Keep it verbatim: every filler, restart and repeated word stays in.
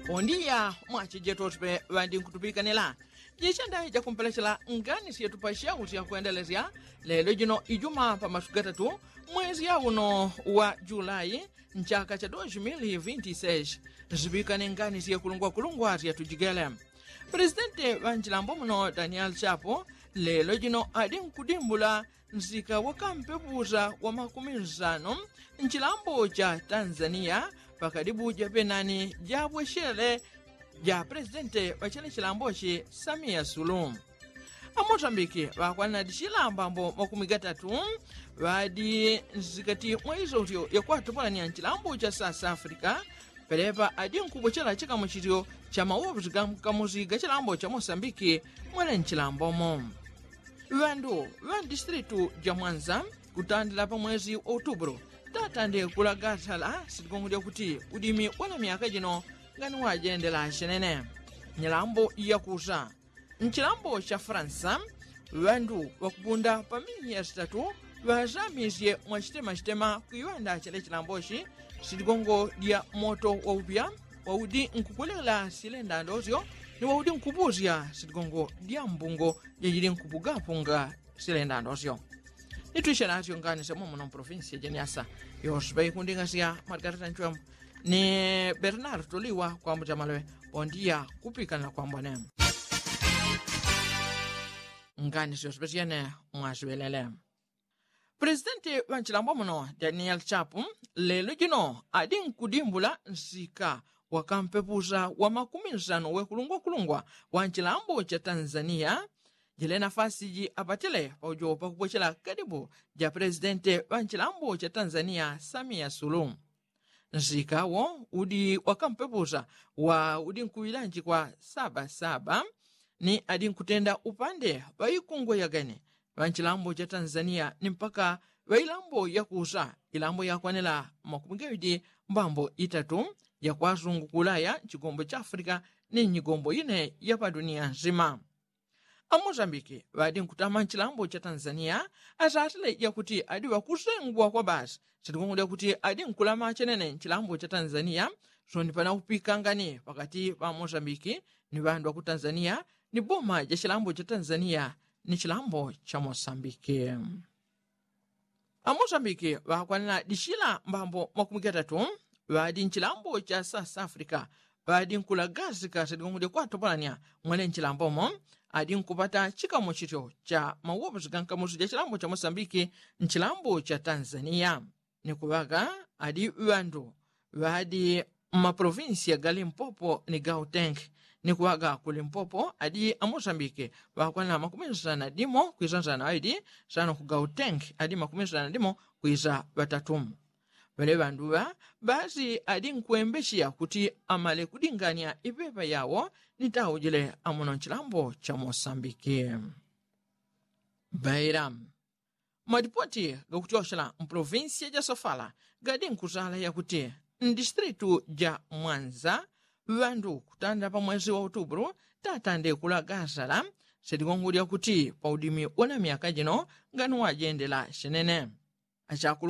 Pondiya mwachejeto sipe ŵandi nkutupikanila. Jichendayi jakumpelechela ngani syetu pa syausya kwendelesya lelo jino ijuma pa masuku gatatu mwezi yauno wa julayi nchaka cha dos mil vinti seis. Zipikane ngani syekulungwakulungwa syatujigele. Presidenti ŵa nchilambo muno daniel chapo lelo jino adi nkudimbula nsika wakampepusa wa makumi nsano nchilambo cha tanzania pakadibu japenani jabweshele ja presidenti ŵa chene chilambochi samia sulu. Amosambiki ŵakwanadi chilambambo makumi gatatu ŵadi nsikati mwa isosyo yakwatupalania nchilambo cha south africa. Pelepa adi nkubwechela chikamuchityo cha mawopusi ga mkamusi ga chilambo cha mosambiki mwele nchilambomo. Ŵandu ŵa mdistritu ja mwanza kutandila pa mwezi wa utubulu tatande kulagasala sitigongo lyakuti udimi wa na myaka jino ngani wajendela chenene. Nyilambo yakusa nchilambo cha faransa ŵandu ŵakupunda pa minya sitatu ŵazamisye mwachitematitema kwiŵanda chele chilambochi sitigongo lya moto waupya waudi nkukulela silendandosyo ni waudi nkupusya sitigongo lya mbungo jajili nkupugapunga silendandosyo. Nitwishe nasyo ngani sya momo na mprovinsi ya jeniasa yoswe ŵaikunding'asya margarita nchwembo ni bernardo liwa kwambucha malwe. Pondiya kupikanila kwambone ngani syoswe syene mwaswelele. Presidenti ŵa nchilambo muno daniel chapu lelo jino adi nkudimbula nsika wakampepusa wa makumi nsano wekulungwakulungwa wa nchilambo cha tanzania. Jile nafasi ji apatile paujo pakupwechela kadibu ja presidenti ŵa nchilambo cha tanzania samia sulu. Nsika wo udi wakampepusa wa udi nkuŵilanji kwa sabasaba ni adi nkutenda upande ŵaikungwe yagene ŵa nchilambo cha tanzania ni mpaka ŵa ilambo yakusa ilambo yakwanila makumi gaŵidi mbambo itatu yakwasungu kulaya nchigombo cha afrika ni nyigombo ine ya padunia nsima. Amosambiki ŵadi nkutama nchilambo cha tanzania asatile yakuti adi ŵakusengwa kwa basi sitigongo lyakuti adi nkulama chenene nchilambo cha tanzania. Soni panaupikangani pakati pa amosambiki ni ŵandu ŵaku tanzania ni boma ja chilambo cha tanzania ni chilambo cha mosambiki. Amosambiki ŵakwanila dichila mbambo makumi gatatu ŵadi nchilambo cha south africa ŵadi nkulagasika sitigongo lyakwatopolanya mwene nchilambomo adi nkupata chikamuchityo cha mawoposi ga nkamusi ja chilambo cha mosambiki nchilambo cha tanzania. Ni kuŵaga adi ŵandu ŵadi mmaprovinsiya ga limpopo ni gautenki. Ni kuŵaga ku limpopo adi amosambiki ŵakwana makumi nsana dimo kwisa nsana ŵaŵidi sano ku gautenki adi makumi nsana dimo kwisa ŵatatu. Ŵale ŵanduŵa basi adi nkwembechiya kuti amale kudingania ipepa yawo ni taujile amuno nchilambo cha mosambiki. Baila malipoti gakutyochela mpolovinsiya ja sofala gadi nkutala yakuti mdistritu ja mwanza ŵandu kutanda pa mwezi wa utubulu tatande kulagasala seligongo lyakuti pa udimi wa na myaka jino ngani wajendela chenene. Achakulu